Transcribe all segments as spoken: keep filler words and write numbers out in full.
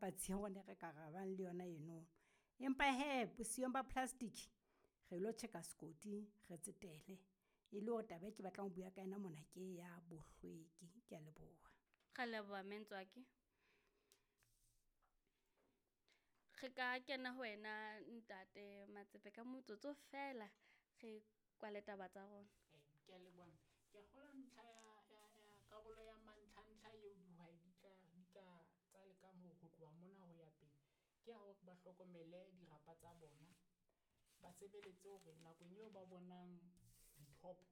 patsi ya rona e re ka rabang le yona eno. Empa hee bosiyong ba plastic re lo tjheka sekoti re tsetele e le hore taba e ke batlang ho bua ka yona mona ke ya bohlweki. Kea leboha. Ra leboha mme Ntswaki. Re ka kena ho wena ntate Matsepe ka motsotso fela re kwale taba tsa rona. Ke a leboha. Ke a kgolwa ntlha ya, ya, ya karolo ya mantlha-ntlha eo dihwai di tla, di ka tsa lekang ho ho tloha mona ho ya pele ke ya hore ba hlokomele dirapa tsa bona, ba sebeletse hore nakong eo ba bonang dithopo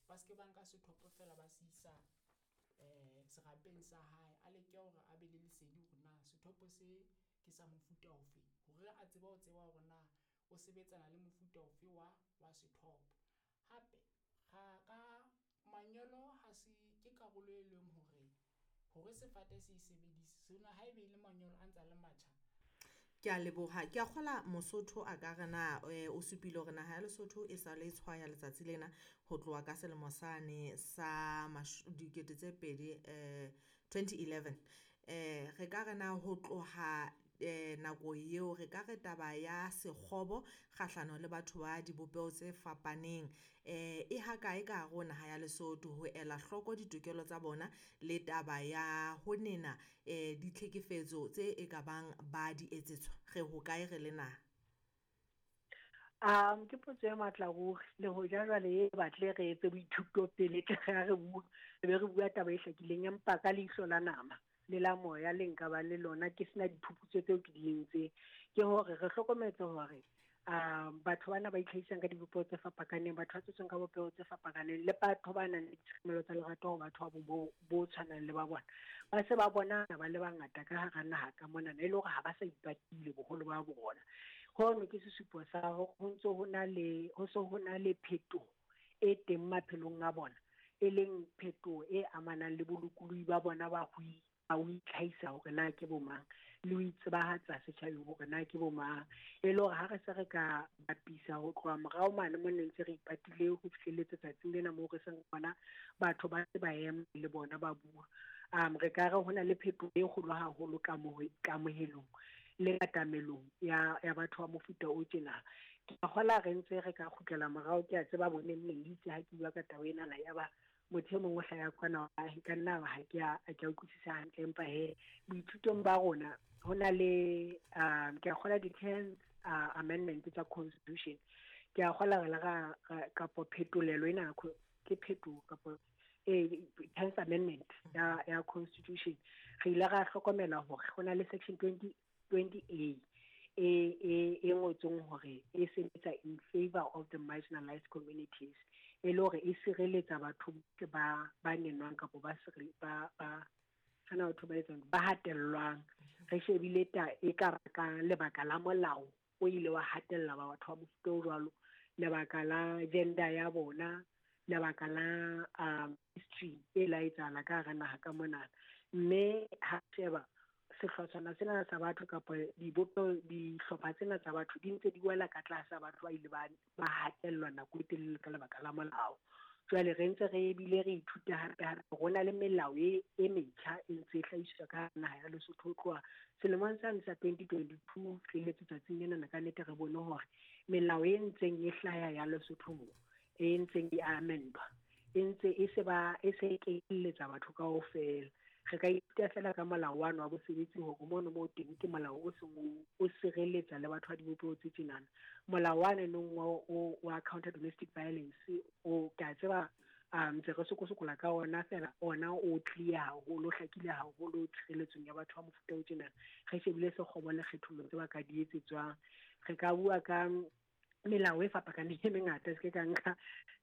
ba se ke ba nka sethopo feela ba se isa eh serapeng sa hae. A leke hore a be le lesedi hore na sethopo se ke sa mofuta ofe, hore a tsebe ho tseba hore na o sebetsana le mofuta ofe wa wa sethopo. Hape ra ka manyolo ha se ke karolo e leng hore hore sefate se e sebedise sena haebe e le manyolo a ntsa le matjha. Ke a leboha. Ke a kgola Mosotho a ka re na eh, o supile hore naha ya Lesotho e sa le tshwaya letsatsi lena ho tloha ka selemo sane sa dikete tse pedi eh twenty eleven. Eh re ka re na ho tloha eh nako eo re ka re taba ya sekgobo kgahlano le batho ba dibopeho tse fapaneng eh e ha kae ka hare ho naha ya Lesotho ho ela hloko ditokelo tsa bona le taba ya ho nena eh ditlhekefetso tse e ka bang ba di etsetswa re ho kae re le naha? Um ke potso e matla ruri, le hoja jwale e batle re etse boithuto pele tle re re bua, re be re bua taba e hlakileng, empa ka leihlo la nama le la moya le nka ba le lona ke sena diphuputso tseo ke di entseng, ke hore re hlokometse hore um batho bana ba itlhahisang ka dibopeho tse fapakaneng, batho ba tswetsweng ka bopeho tse fapakaneng, le batho ba nang le ditshekamelo tsa lerato ho batho ba bo, bo tshwanang le ba bona, ba se ba bona ba le bangata ka hara naha ka monana, e le hore ha ba sa ipatile boholo ba bona. Hono ke sesupo sa hore ho ntso ho na le, ho so ho na le phetoho e teng maphelong a bona, e leng phetoho e amanang le bolokolohi ba bona ba ho ho itlhahisa hore na ke bo mang, le ho itsebahatsa setjhabeng hore na ke bo mang. E le hore ha re se re ka bapisa ho tloha morao mane mo ne ntse re ipatile ho fihlelletse tsatsing lena moo re seng bona batho ba se ba ema le bona ba bua, um re ka re ho na le phetoho e kgolo haholo kamohelong le katamelong ya, ya batho ba mofuta o tjena. Ke a kgola re ntse re ka kgutlela morao, ke a tseba bo neng neng itse ha ke bua ka taba enana ya ba motho e mong o hlaya kwana, e ka nna ha ke a, ha ke a utlwisisa hantle, empa he boithutong ba rona ho na le um ke a kgola di-tenth uh, amendment tsa constitution, ke a kgola re le ra, ra kapo phetolelo ena ke phetoho kapo eh tenth amendment ya, ya constitution, re ile ra hlokomela hore ho na le section twenty, twenty A e, e, e ngotsweng hore e sebetsa in favor of the marginalized communities, e le hore e sireletsa batho bohle ba, ba nenwang kapo ba sire-, ba, ba, kana batho ba etsang, ba hatellwang. Re shebile ta e ka ka lebaka la molao o ile wa hatella ba batho ba mofuta o jwalo, lebaka la gender ya bona, lebaka la, um, history e la etsahala ka hara naha ka monana. Mme ha sheba sehlotshwana sena sa batho kapa dibopeho, dihlopha tsena tsa batho di ntse di wela ka tlasa batho ba ile ba, ba hatellwa nako e telele ka lebaka la molao. Jwale re ntse re bile re ithuta hape hape ho na le melao e, e metjha e ntse e hlahiswa ka naha ya Lesotho ho tloha selemong sane sa twenty twenty-two fihlelletse tsatsing lena ka nnete re bone hore melao e ntseng e hlaya ya Lesotho moo, e ntseng e amendwa, e ntse e se ba, e se e kenyelletsa batho kaofela. Re ka ithuta fela ka molao wa wa bosebetsi hore mono moo teng ke molao o seng o, o sireletsa le batho ba dibopeho tse tjenana. Molao wane nong wa, o, wa counter domestic violence o ke a tseba, um, ntse re sokosokola ka ona fela, ona o clear haholo, o hlakile haholo tshireletsong ya batho ba mofuta o tjenana. Re shebile sekgobo le kgethollo tse ba ka di etsetswang. Re ka bua ka melao e fapakaneng e mengata, se ke ka nka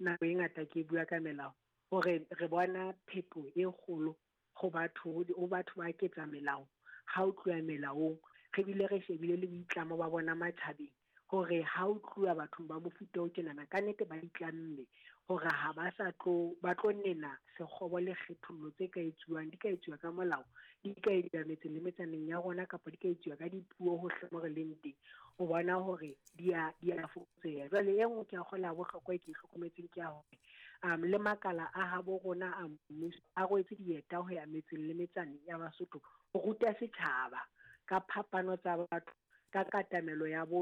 nako e ngata ke bua ka melao, hore re bona phetoho e kgolo ho batho, ho batho ba ketsa melao. Ha o tloha melaong, re bile re shebile le boitlamo ba bona matjhabeng hore ha o tloha bathong ba mofuta o tjenana, ka nnete ba itlamme hore ha ba sa tlo, ba tlo nena sekgobo le kgethollo tse ka etsuwang, di ka etsuwa ka molao, di ka etsuwa metseng le metsaneng ya rona, kapa di ka etsuwa ka dipuo hohle mo re leng teng, ho bona hore di a, di a fokotseha. Jwale e nngwe ke a kgola ya bohlokwa e ke e hlokometseng ke ya hore, um, le makala a habo rona a mmuso a rwetse dieta ho ya metseng le metsaneng ya Basotho ho ruta setjhaba Ka phapano tsa batho, ka katamelo ya botho.